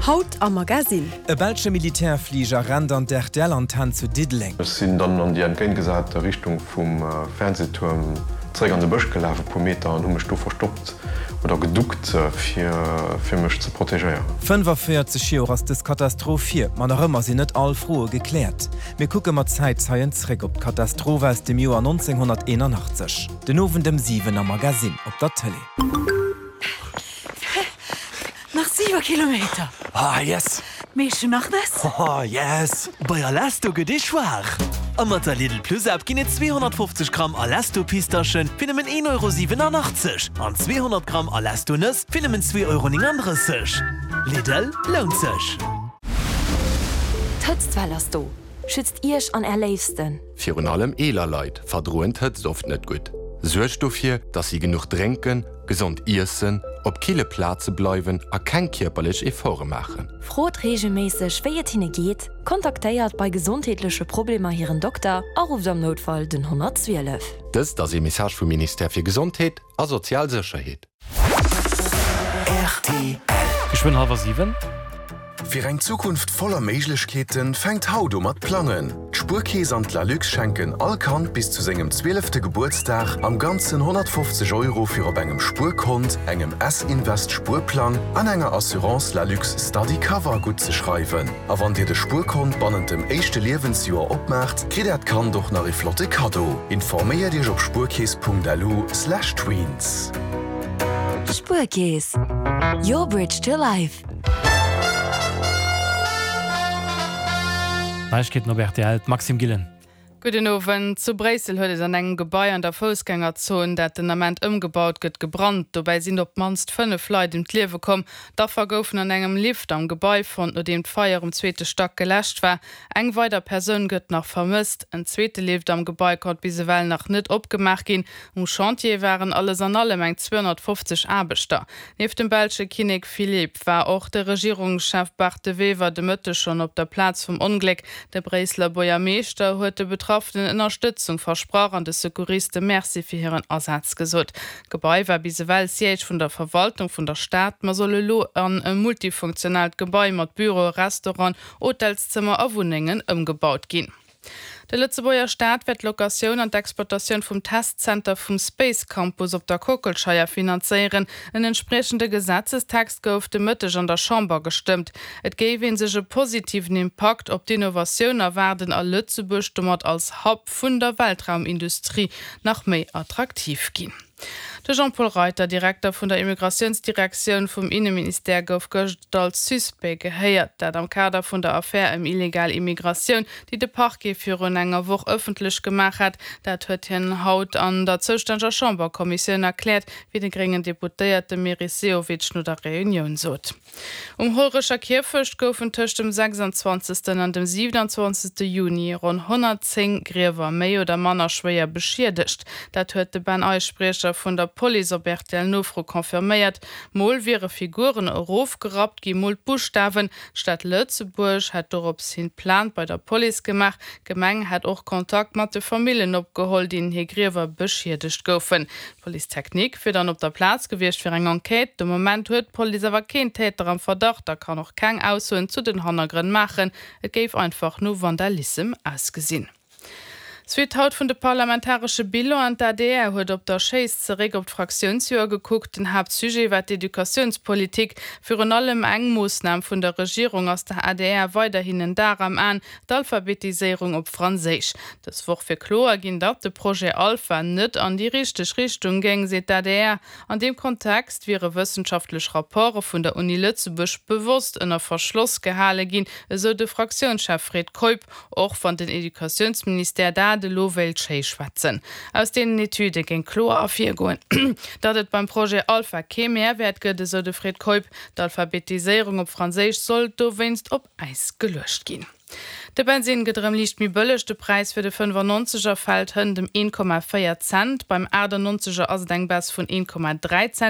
Haut am Magasinn. E belsche Militärfliger rennt an d'RTL-Antenn zu Diddeleng. Ech sinn dann an déi entgéintgesate Richtung vum Fernsehtuerm zeréck an de Bësch gelaf, e puer Meter, an hu mech do verstoppt oder geduckt, fir fir mech ze protegéieren. 45 Joer ass dës Katastroph hier, ma nach ëmmer sinn net all Froe gekläert. Mir kucke mat Zäitzeien zréck op d'Katastroph aus dem Joer 1981. Den Owend ëm 7 am Magasinn op der Tëlee. Nach 7 Kilometer! Ah yes! Meescht du nach Nëss? Oh yes! Bei Alesto gëtt ee schwaach! A mat der Lidl Plus App ginn et 250 Gramm Alesto Pistaschen fir nëmmen 1,87 Euro an 200 Gramm Alesto Nëss fir nëmmen 2,39 Euro. Lidl, lount sech! D'Hëtztwell ass do! Schützt Iech an Är Léifsten! Virun allem eeler Leit verdroen d'Hëtzt oft net gutt. Suergt dofir, dass si genuch drénken, gesond iessen, op kille Plaze bleiwen a keng kierperlech Efforte maachen. Frot reegelméisseg, wéi et hinne geet, kontaktéiert bei gesondheetleche Problemer hiren Dokter a rufft am Noutfall den 112. Dëst ass ee Message vum Ministère fir Gesondheet a sozial Sécherheet. Rtl. Geschwënn hallwer 7. Fir eng Zukunft voller Méiglechkeeten fänkt haut u mat plangen. D'Spuerkeess an d'Lalux schenken all Kand bis zu sengem zwielefte Gebuertsdag am Ganzen 150 Euro fir op engem Spuerkont, engem S-Invest Spuerplang an enger Assurance Lalux Study Cover guttzeschreiwen. A wann dir de Spuerkont bannent dem éischte Liewensjoer opmaacht, kritt äert Kand och nach ee flotte Kaddo. Informéiert iech op spuerkeess.lu/tweens. Spuerkeess, your bridge to life. Neiegkeeten op rtl, d'Maxime Gillen. Gudden Owend. Zu Bréissel huet et an engem Gebai an der Foussgängerzon, dat den Ament ëmgebaut gëtt, gebrannt. Dobäi sinn op d'mannst 5 Leit ëm d'Liewe komm. D'Affer goufen an engem Lift am Gebai fonnt, nodeem d'Feier um zweete Stack geläscht war. Eng weider Persoun gëtt nach vermësst. En zweete Lift am Gebai konnt bis ewell nach net opgemaach ginn. Um Chantier waren alles an allem eng 250 Aarbechter. Nieft dem belsche Kinnek Philippe war och de Regierungschef Bart De Wever de Mëtteg schonn op der Plaz vum Ongléck. De Bréisseler Buergermeeschter huet de Betraffenen Ënnerstëtzung versprach an de Secouriste Merci fir hiren Asaz gesot. D'Gebai war bis ewell Siège vun der Verwaltung vun der Stad, ma soll elo an e multifunktionaalt Gebai mat Büroe, Restaurant, Hotelszëmmer a Wunnengen ëmgebaut ginn. De Lëtzebuerger Staat wäert d'Locatioun an d'Exploitatioun vum Testzenter vum Space Campus op der Kockelscheier finanzéieren. En entspriechende Gesetzestext gouf de Mëtteg an der Chamber gestëmmt. Et géif ee sech e positiven Impakt op d'Innovatioun erwaarden a Lëtzebuerg domat als Hub vun der Weltraumindustrie nach méi attraktiv ginn. De Jean-Paul Reiter, Direkter vun der Immigratiounsdirektioun vum Inneministère, gouf gëscht als Suspect gehéiert. Dat am Kader vun der Affär ëm illegal Immigratioun, déi de Parquet virun enger Woch ëffentlech gemaach hat. Dat huet hien haut an der zoustänneger Chamberkommissioun erkläert, wéi de gréngen Deputéierte Meris Sehovic no der Reunioun sot. Um Hollerecher Kierfecht goufen tëscht dem 26. an dem 27. Juni ronn 110 Griewer méi oder manner schwéier beschiedegt. Dat huet de Ben Eich, Spriecher vun der Police, op RTL-Nofro confirméiert. Mol wiere Figuren erofgerappt gi, mol d'Buschtawen. D'Stad Lëtzebuerg hätt dorops hin Plainte bei der Police gemaach. D'Gemeng hätt och Kontakt mat de Famillen opgeholl, deenen hir Griewer beschiedegt goufen. D'Police technique wier dann op der Plaz gewiescht fir eng Enquête. De Moment huet d'Police awer keen Täter am Verdacht a kann och keng Aussoen zu den Hannergrënn maachen. Et géif einfach no Vandalissem ausgesinn. Suite haut vun de parlamentaresche Bilanen, D'ADR huet op der Schéiss zeréck op d'Fraktiounsjoer gekuckt. Den Haaptsujet war d'Educatiounspolitik. Virun allem eng Moossnam vun der Regierung ass der adr weiderhin en Dar am Aen, D'Alphabetiséierung op Franséisch. Dës Woch wier kloer ginn, datt de Projet Alpha net an déi richteg Richtung géing, seet d'ADR. An deem Kontext wiere wëssenschaftlech Rapporte vun der Uni Lëtzebuerg bewosst ënner Verschloss gehale ginn, esou de Fraktiounschef Fred Keup, och wann den Educatiounsministère dat elo wéilt schéi schwätzen. Aus deenen Etüde géing kloer ervirgoen, datt et beim Projet Alpha kee Mehrwäert gëtt, esou de Fred Keup. D'Alphabetiséierung op Franséisch sollt dowéinst op Äis geluecht ginn. De Bensinn gëtt erëm liicht méi bëlleg, de Präis fir de 95 er fält hënt ëm 1,4 Cent, beim 98 er ass et eng Baisse vun 1,3 Cent.